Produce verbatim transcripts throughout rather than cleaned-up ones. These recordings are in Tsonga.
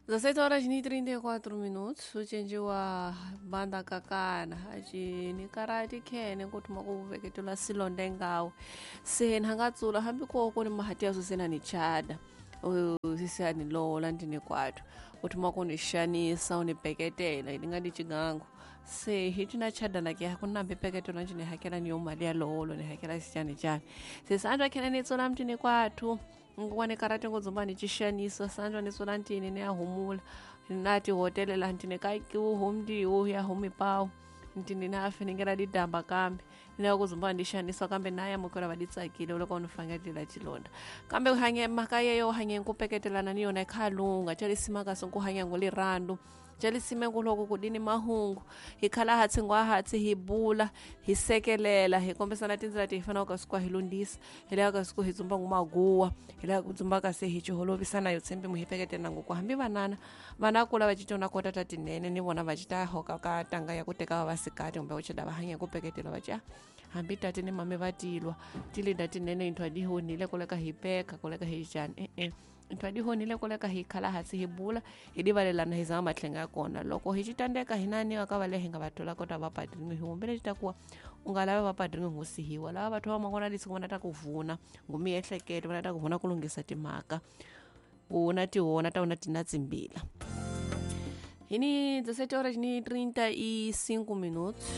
dezessete horas e trinta e quatro minutos ucenjiwa banda kakana acini karati khene kuthuma kuveketela silonde ngawe se nhangatsula hambi koko ni mahati yaso sena ni chada sisani lola ndini kwathu uthuma kunixanisa unibeketela ni nga ni cigangu se hi cina chada na ke ku nambi peketela njini hakela ni yo mali ya lolo ni hakela xicani cani se sanjwa khene ni tsula mtini kwathu ngwane karate ngodzomba ni chixaniso sanjwa ni tsula ntini ni ya humula na tihotele laha ntini ka humdiwo ya humipawu ntini na afiningela didamba kambe ni ku dzumba ndi xanisa kambe na yamukela va di tsakile loko ni fangetela chilonda kambe hanye mhaka yeyo hanye ku peketelana ni yona khalunga chalisima kasi ku hanya ngo lirandu chalisime ku loko ku dini mahungu hi khala hatsi ngwa hatsi hi bula hi sekelela hi kombisana tindlela ti hi fanelaka kasi ku hi lundzisa hi lava kasi ku hi dzumba ngu maguwa hi lava ku dzumba kasi hi ciholovisana yo tshembi mu hi peketela ngoko hambi vanana vana kula va citona kota ta tinene ni vona va cita hoka ka tanga ya ku teka vasikati kumbe ku chida va hanya ku peketela va ca hambi tati ni mame va tilwa tilinda tinene inthu a di honile koleka hi peka koleka hi cani e-e inthu a di honile koleka hi khala hansi hi bula hi divalelana hi zama matlhenga ya kona loko hi citandeka hi naniwa ka va le hi nga va thola kota va padringi hi humbele cita kuwa u nga lavi va padringi ngo sihiwa lava vathu va mangona lisiku vona ta ku vuna ngu miehleketo vona ta ku vuna ku lunghisa timhaka vona tihona ta wona tina tsimbila hini dezessete horas ni trinta e cinco minutos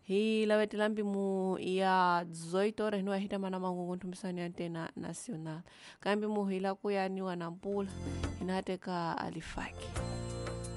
hi lavetela mpimo ya dezoito horas niwa hita mana mangungu nthumbisani ya antena nacional kambe mu hi la ku ya niwa na mpula hina teka alifaki.